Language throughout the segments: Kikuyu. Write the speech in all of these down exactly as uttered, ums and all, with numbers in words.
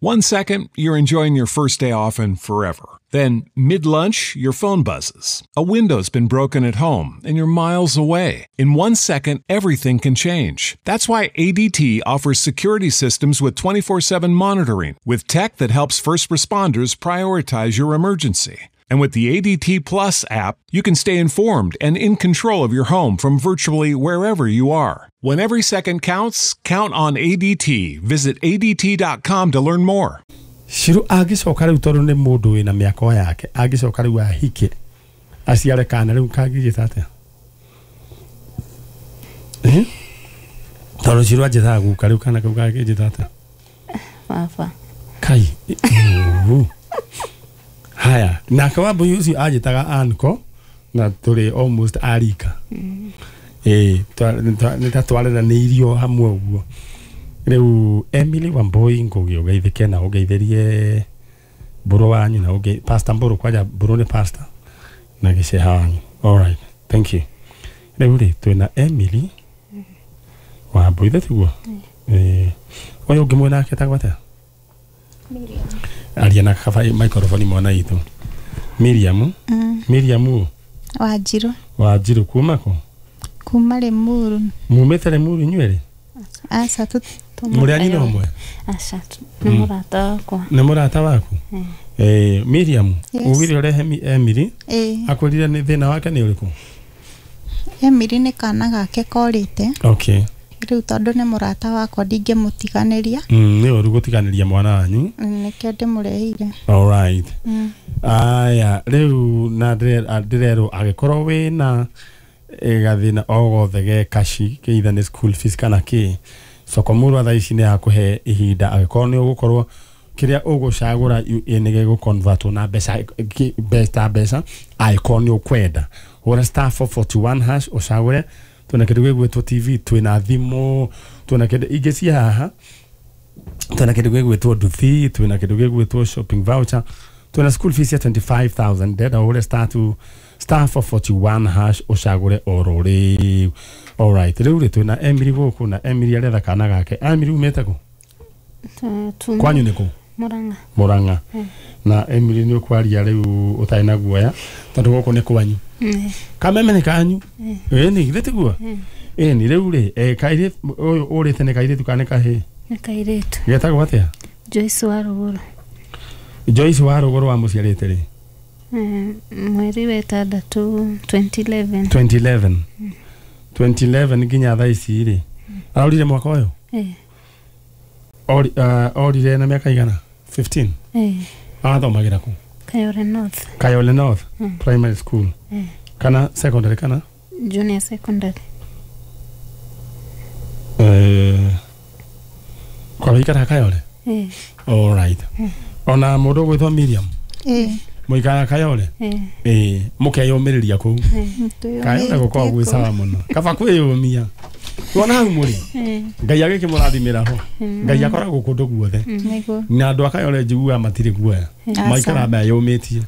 One second, you're enjoying your first day off and forever. Then, mid-lunch, your phone buzzes. A window's been broken at home, and you're miles away. In one second, everything can change. That's why A D T offers security systems with twenty-four seven monitoring, with tech that helps first responders prioritize your emergency. And with the A D T Plus app, you can stay informed and in control of your home from virtually wherever you are. When every second counts, count on A D T. Visit A D T dot com to learn more. Shiru agicoka riu tondu ni mundu wina miaka yake agicoka riu ahike aciare kana riu kangijita atia eh tondu Shiru anjitaga guka riu kana kau kangijita atia baba kai haya nake Wambui ucio anjitaga anko na turi almost arika mm. eh nĩ twareranĩirio hamwe ũguo. Rĩu Emily Wambui ngũgĩ ũgeithĩke na ũgeithĩrie Mbũrũ wanyu na ũge Pastor Mbũrũ kwanja Mbũrũ nĩ pastor na gĩceha wanyu. All right, thank you. Rĩu rĩ twĩna Emily Wambui tiguo eh ũyũ ũngĩ mwena ake etagwo atĩa? Miriam. Aria na kaba microphone mwana itu. Miriam. Mm. Miriam Wanjiru. Wanjiru kuma kũ? Kuma Limuru. Mumĩte Limuru inyuĩ? Aca tu mũrĩ a nyina ũmwe? Aca nĩ mũrata wakwa. Nĩ mũrata waku? Eh Miriam, ugire ũrehe Emily. Akwĩrire nĩ thĩna wake nĩ ũrĩkũ? Emily nĩ kana gake korĩte. Okay. Rĩu tondũ nĩ mũrata wakwa ndingĩmũtiganĩria. Mm, nĩ ũru gũtiganĩria mwana wanyu. Nĩkĩo ndĩmũrehire. All right. Mm. Aya, rĩu na ndĩrerwo angĩkorwo wĩna gathĩna o gothe ge kashi either nĩ school fees kana kĩ Sokomurwa thaa ici nĩ akũhe ihinda angĩkorwo nĩ ũgũkorwo kĩrĩa ũgũcagũra nĩ gĩgũconvertwo na mbeca mbeca mbeca angĩkorwo nĩ ũkwenda hũra star four forty-one hash ũcagũre. Twĩna kĩndũ gĩgwĩtwo T V, twĩna thimũ, twĩna kĩndũ ingĩ cia haha, twĩna kĩndũ gĩgwĩtwo nduthi, twĩna kĩndũ gĩgwĩtwo shopping voucher, twĩna school fees ya twenty-five thousand. Ndenda ũhũre star two star four forty-one hash ũcagũre oro rĩu. All right, rĩu rĩ twĩna Emily gũkũ na Emily aretha kana gake. Emily umĩte kũ? Kwanyu nĩ kũ? Murang'a. Murang'a. Na Emily nĩ ũkwaria rĩu ũtarĩ na guoya tondũ gũkũ nĩ kwanyu. Kameme nĩ kanyu. Ĩni githĩ tiguo? Ĩni rĩu rĩ kairĩtu ũyũ ũrĩte nĩ kairĩtu kana nĩ kahĩĩ? Nĩ kairĩtu. Getagwo atĩa? Joyce wa Rũgũrũ. Joyce wa Rũgũrũ wamũciarĩte rĩ? Mweri wa ĩtandatũ twenty eleven. twenty eleven. twenty eleven nginya thaa ici rĩ araurire mwaka ũyũ? Eh. Ori orire na mĩaka igana? fifteen. Eh. Arathomagĩra kũ? Kayole North. Kayole North mm. Primary School. Eh. Kana secondary kana? Junior secondary. Eh. Kwa wikara Kayole? Eh. All right. Mm. Ona mũndũ ũgwĩtwo Miriam? Eh. Mũikara Kayole? Eh. Eh, mũkeyũmĩrĩria kũu. Kayole gũkoragwo gwĩ sawa mũno. Kaba kwĩyũmia. Wona hau mũrĩ? Ngai agĩkĩmũrathimĩra ho. Ngai akoragwo kũndũ guothe. Na andũ a Kayole njiguaga matirĩ guoya. Maikaraga meyũmĩtie.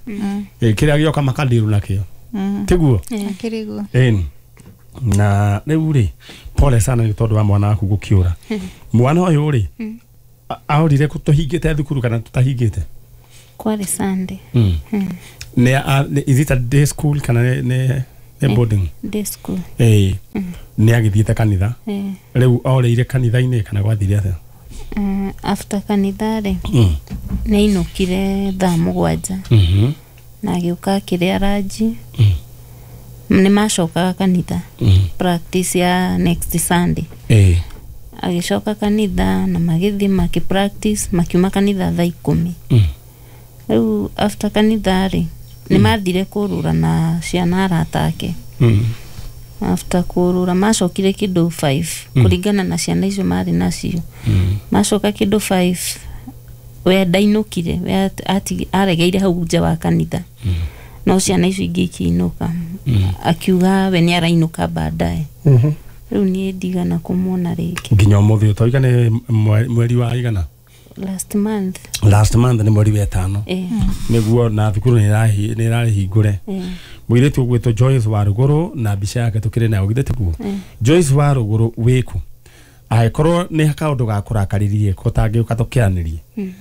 Eh, kĩrĩa gĩoka makandirũ nakĩo. Tiguo? Akĩrĩ guo. Ĩni. Na rĩu rĩ, pole sana nĩ tondũ wa mwana waku gũkĩũra. Mwana ũyũ rĩ, aorire tũhingĩte thukuru kana tũtahingĩte? Kwarĩ Sunday. Mm. Ne is it a day school kana ne ne boarding? Day school. Eh. Nĩ agĩthiĩte kanitha. Eh. Rĩu oreire kanitha-inĩ kana gwathire atĩa? Mm, after kanitha rĩ. Mm. Nĩ ainũkire thaa mũgwanja. Mhm. Na agĩũka akĩrĩa ranji. Mm. Nĩ macokaga kanitha. Mm. Practice ya next Sunday. Eh. Agĩcoka kanitha na magĩthiĩ makĩ practice makiuma kanitha thaa ikũmi. Mm. Rĩu after kanitha rĩ nĩ mathire kũrũra na ciana arata ake. Mm. After kũrũra macokire kĩndũ five mm. kũringana na ciana icio marĩ nacio. Mm. Macoka kĩndũ five we ndainũkire we ati aregeire hau nja wa kanitha. Mm. No ciana icio ingĩ ikĩinũka. Mm. Akiuga we nĩ arainũka baadaye. Mhm. Rĩu niĩ ndigana kũmuona rĩngĩ. Nginya ũmũthĩ ũtoiga nĩ mweri wa igana? Last month. Last month nĩ mweri wa ĩtano. Eh. Nĩguo na thukuru nĩ ĩrahi nĩ ĩrahingũre. Eh. Mũirĩtu ũgwĩtwo Joyce wa Rũgũrũ na mbica yake tũkĩrĩ nayo githĩ tiguo? Eh. Joyce wa Rũgũrũ wĩkũ? Angĩkorwo nĩ kaũndũ ga kũrakaririe ko tangĩũka tũkĩaranĩrie. Mm.